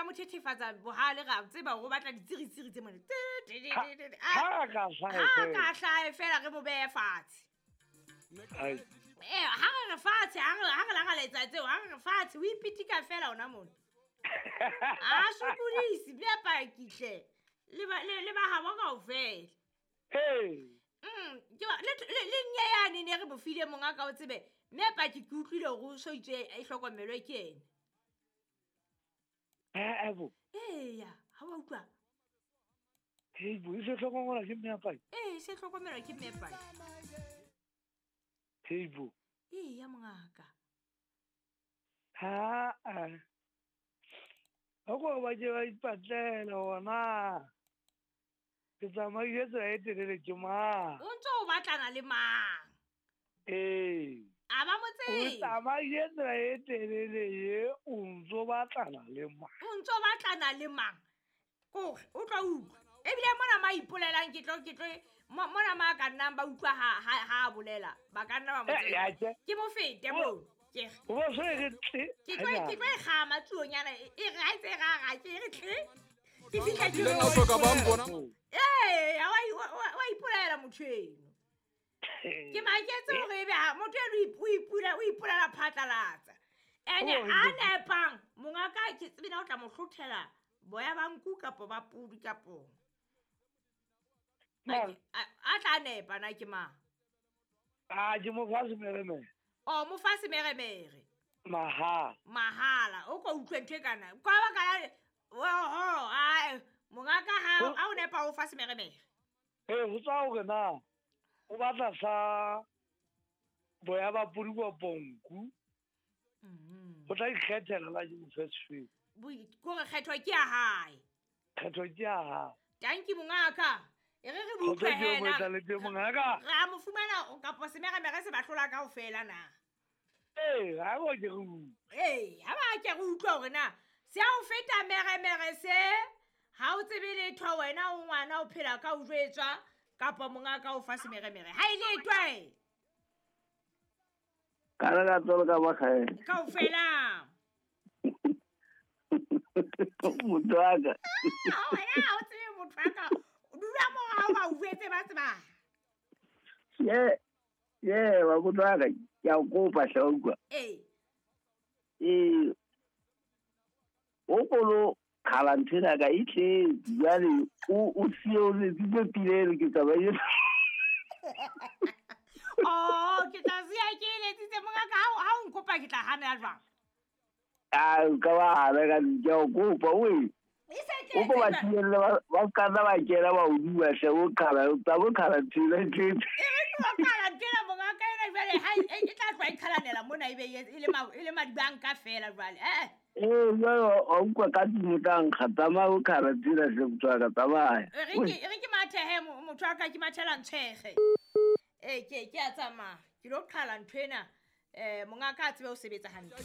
mo thethefatsa bohale ra tseba gore o batla ditsiritsiri tse mone. Ha a ka hlahe Ha fela. ka hlahe fela re mo behe fatshe. Ai. Ee, ha re re fatshe, ha re lagaletsa tseo, ha re re fatshe, o ipitika fela ona mona. A sokodise, mme a pakihle. Le ba habo kaofela. Ee. Ke le nnye yane ne re mo file monga ka o tsebe, mme a paki ke utlwile hore o so itse e hlokomelwe ke ena. Eh, bo. Eya, ha wa utlwa? Hei, bo, e se hlokomelwa ke mme a paki? Ee, e se hlokomelwa ke mme a paki. Hei, bo. Eya, mongaka. Ha, a. Ha ko ba ke ba ipatlela hona. Ke tsamaile tsela e telele ke mang? O ntso o batlana le mang? Ee. A ba mo O tsebe. tsamaile tsela e telele ye, o ntso batlana le mang? O ntso batlana le mang? Kore, o tlo utlwa. Ebile mona ma ipolelang ke tlo, mona ma ka nnang ba utlwa ha a bolela, ba ka nna ba mo Eh, tsebe. ya ke. Ke mo fete O- moo. Ke re. O bo se re tle. Ke tlo e kgama tsuonyana, e re ha e tse ra ra, ke re tle. Ke fihla ke Ile re ka hloka ba mpona. Ee, ha wa ipolela motho eno. Ke maketse hore ebe ha motho eno o ipulela phatlalatsa. Ene Oh, a nepang, mongaka ke tsebe na o tla mo hlothela boya ba nku kapo ba pudi kapo. Mang? A tla nepa na ke mang? A, ke mo fa semeremere. O, mo fa semeremere. Mahala. Mahala, o ko utlwe ntho e kana. Kwa ba kana, oho, ai, mongaka Ho- ha o nepa o fa semeremere. Ee, ho tswa hore na o batla sa boya ba pudi kapo nku. O tla ikgethela la ke mo fe sefeng. Kore kgetho ke ya hae. Kgetho ke ya hae. Tanki mongaka. E re re Kgotso utlwe ke yo hena. moetsaleteng mongaka. Re a mo fumana kapo semeremere se ba hlola kaofela na. Ee, ha bo ke re utlwe. Ee, ha ba ke re utlwe hore na se a o feta meremere se, ha o tsebe letho wena o ngwana o phela ka o jwetswa kapo mongaka o fa semeremere. Ha e letho e. Ka re ka tsolo ka makgae. Kaofela. Motho wa ka. Ha wena ha o tsebe motho wa ka. Dula moo ha o ba utlwetse ba tseba. Ye, ye, wa motho wa ka, ke a o kopa hle wa utlwa. Ee. Ee, o kolo qhala nthwena ka e tletse, jwale o siye o letsitse pina eno ke tsamaile. Oh, ke tla siya ke e letsitse mongaka, ha o nkopa ke tla hana jwang? Ah, o ka ba hana ka ke a o kopa, oe. E se O ko ba tletse jwale. thibelle ba se ka nna ba kena ba o bua hle, o qhala, o tla bo qhala nthwena e tletse. E re ke o qhala nthwena mongaka ena jwale, ha e tla tloha e qhalanela mona ebe e le madibanka feela jwale. Eh, eh. Ee, jwale wa utlwa ka tlung o tla nkga, tsamaya o qhala nthwena hle, motho wa ka, tsamaya. E re ke, e re ke mathehe motho wa ka, ke mathela ntshwege. Ee, ke a tsamaya, ke lo qhala nthwena, mongaka a tsebe ho sebetsa hantle.